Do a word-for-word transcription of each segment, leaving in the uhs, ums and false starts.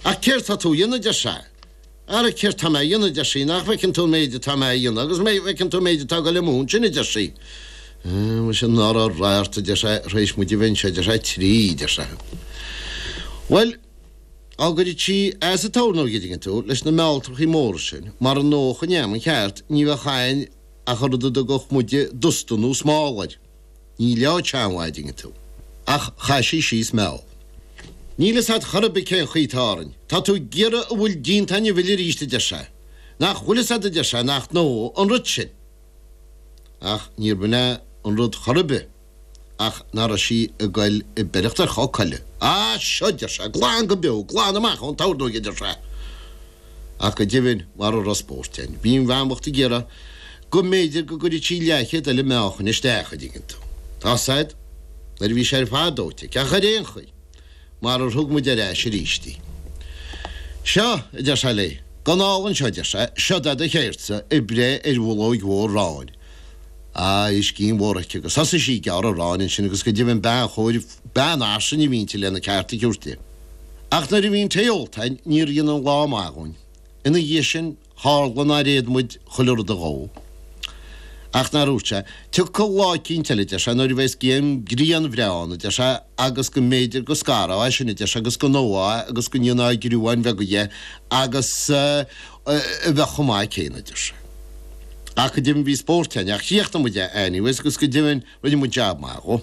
Ach céard tá tú a dhéanamh, a deir sé. Ara céard tá mé a dhéanamh, a deir sí, nach bhfeiceann tú an méid atá mé a dhéanamh agus an bhfeiceann tú an méid atá ag dul amú ansin, a deir sí. Muise ná raibh rath ort, a deir sé, tar éis muid a bheith anseo, a deir sé, trí, a deir sé. Bhuel, á gcuireadh sí as an tornóg, a dtuigeann tú, leis na mealltrachaí móra sin, mar an ndócha in am an cheart, ní bheadh a'inn ach an rud a dtugadh muide dusta nó smál air. Ní leáigh sé an mhaith, a dtuigeann tú. Ach chaith sí síos meall. Níl fhios a'd chor ar bith cén chaoi atá orainn. Tá tú ag iarraidh a bhfuil déanta a'inn a mhilleadh arís, a deir sé. Nach bhfuil fhios a'd, a deir sé, nach ndóigh an rud sin. Ach níorbh in é an rud chor ar bith ach nach raibh sí ag goil ag beireacht ar chomh coille. Á, seo, a deir sé, glan go beo, glan amach ón tornóig, a deir sé. Ach go deimhin, mara raibh spórt a'inn, bhí an bhean bhocht ag iarraidh go mb'fhéidir go gcuirfeadh sí leathchéad eile meáchain isteach, a dtuigeann tú. Tá 'fhios a'd, nuair a bhí sé ar fad dóite aici, ach ar aon chaoi, marar thug muid ar ais arís í. Seo, a deir sé léi, gabh anall anseo, a deir sé, seod é do cheird-sa ag breith ar bhulóig mhór aráin. Á, bhí scian mhór aici agus thosaigh sí ag gearradh aráin ansin agus go deimhin bean chóir, bean fhairsinge a bhí inti lena ceart a thabhairt di. Ach nuair a bhí an tae ólta a'inn níor dhein an lá maith dhúinn. Ina dhiaidh sin, Tharla nár fhéad muid chuile rud a dhó. Ach nár dhúirt sé, Tiocfaidh lá eicínt eile, a deir sé, nuair a bheas grian bhreá ann, a deir sé, agus go mb'fhéidir go scarfá é sin, a deir sé, agus go ndófá é agus go ndéanfá griúáin bheaga dhe agus a bheadh chomh maith céanna, a deir sé. Ach go deimhin bhí spórt a'inn, ach chríochnaigh muid é anyways agus go deimhin rinne muid jab maith dhó.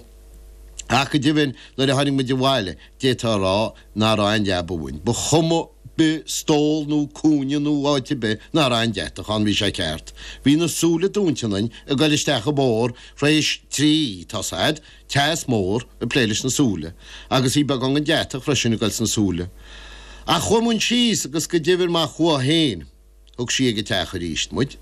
Ach go deimhin nuair a tháinig muid abhaile, d'fhéadfá a rá ná raibh aon leaba uainn. Ba chuma bith stól nó cúinne nó áit ar bith ná raibh aon deatach ann, bhí sé ceart. Bhí na súile dúinte ionainn ag goil isteach i bpór th'réis trí, tá's a'd, teas mór ag plé leis na súile, agus bhí beagán den deatach freisin ag goil sna súile. Ach chuaigh muinn síos agus go deimhin má chuaigh féin, Thug sí ag an teach arís muid.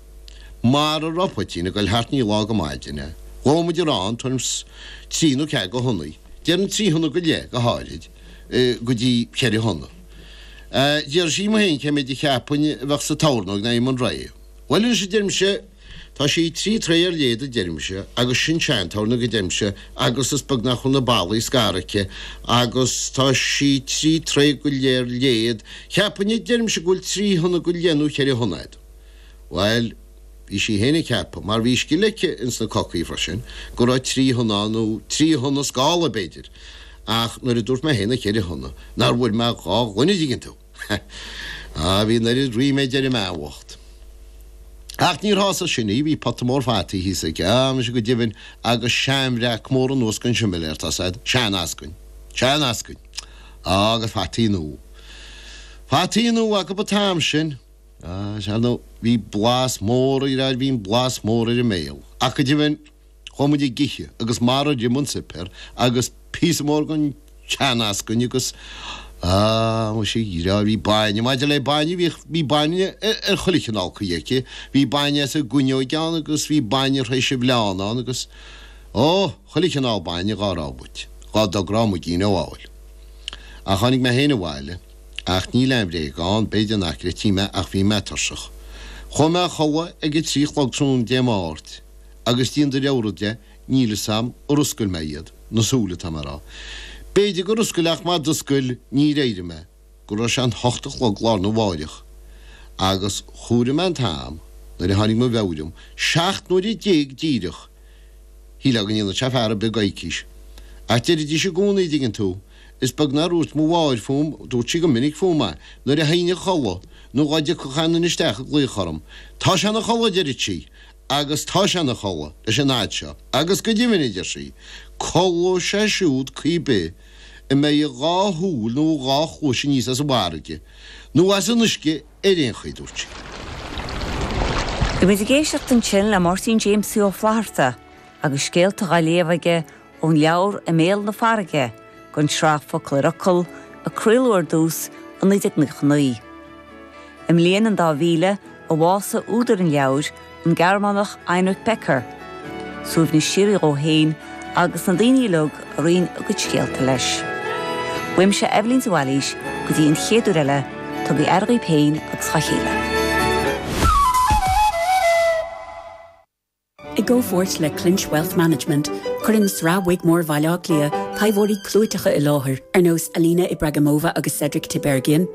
Mara raibh poitín ag goil thart ní lá go maidin é. Dhóigh muid arán tuairim 's trí nó ceathair go thonnaí. Déarfainn trí thonna go leith, go háirid, go dtí ceithre thonna. D'iarr sí dhíom féin cé méid a cheapfainn a bheadh sa tornóig nuair a bhí muid réidh. Bhuel anois a deirimse, tá sí trí troigh ar leithead a deirimse agus sin sean-tornóg a deirimse agus is beag nach bhfuil na ballaí scartha aici agus tá sí trí troigh go leith ar leithead, cheapfainn a deirimse go bhfuil trí thonna go leith nó ceithre thonna fhad. Bhuel, bhí sí féin ag ceapadh, mar bhí scil aici ins na cocaí freisin, go raibh trí thonna ann nó trí thonna scála b'fhéidir, ach nuair a dúirt mé féin na ceithre thonna, nár bhuail mé dhá ghloine an dtuigeann tú. Á, bhí an oiread ríméid ar an mbean bhocht. Ach níor shásaigh sin í, bhí pota mór fataí thíos aici, á, muise go deimhin, agus seanbhreac mór anuas den similéar, tá's a'd, sean-eascainn. Sean-eascainn. Á, agus fataí nua. Fataí nua acu an t-am sin. Á, sea, nó bhí blas mór, a dheartháir, bhí an blas mór ar a mbéal. Ach go deimhin, Chuaigh muid ag ithe agus marar ith an suipéar agus píosa mór den tsean-eascainn agus, ah, muise, a dheartháir, bhí bainne, maidir le bainne, bhíodh, bhí bainne ar chuile chineál caoi aici, bhí bainne as an gcuinneoig ann agus bhí bainne th'réis an bhleán ann agus, ó, chuile chineál bainne dhá raibh uait, dhá dtográ muigín a fháil. Ach tháinig mé féin abhaile, ach níl aon bhréag ann, b'fhéidir nach gcreidfí mé ach bhí mé tuirseach. Chuaigh mé a chodladh ag a trí a chlog tráthnóna Dé Máirt. Agus déan do rogha rud de, níl fhios a'm ar oscail mé iad, na súile atá mé a rá. B'fhéidir gur oscail ach má d'oscail níor éirigh mé go raibh sé an hocht a chlog lá arna mháireach. Agus chomhair mé an t-am nuair a tháinig mo mheabhair orm, seacht n-uaire déag díreach! Shílfeá go ndéanadh sé fear ar bith i gcoicís. Ach deiridís i gcónaí, an dtuigeann tú, is beag nár dhúirt mo mháthair fúm, dúirt sí go minic fúm é, nuair a théinn a chodladh, nó dhá dtiocfadh aon duine isteach ag glaoch orm, 'Tá sé ina chodladh, a deirid sí, Agus tá sé ina chodladh leis an fhad seo, agus go deimhin, a deir sí, codlóidh sé siúd caoi bith a mbeidh a dhá shúil nó a dhá chluais aníos as an bhfarraige, nó as an uisce ar aon chaoi, dúirt sí. Bhí muid ag éisteacht ansin le Máirtín Jamesie Ó Flatharta agus scéalta dhá léamh aige ón leabhar I mBéal na Farraige den tsraith Focal ar Fhocal a craoladh ar dtús i naoi déag nócha naoi. I mbliain an dá mhíle a bhásaigh údar an leabhair, an Gearmánach Heinrich Becker. Suaimhneas síoraí dhó féin agus na daoine uilig a roinn a gcuid scéalta leis. Uaimse Eibhlín de Bhailís go dtí an chéad uair eile, tugaigí aire dhaoibh féin agus dhá chéile. I gcomhpháirt le Clinch Wealth Management, cuireann Sraith Wigmore Bhaile Átha Cliath taibheoirí clúiteacha i láthair, ar nós Alina Ibragimova agus Cedric Tiberghien,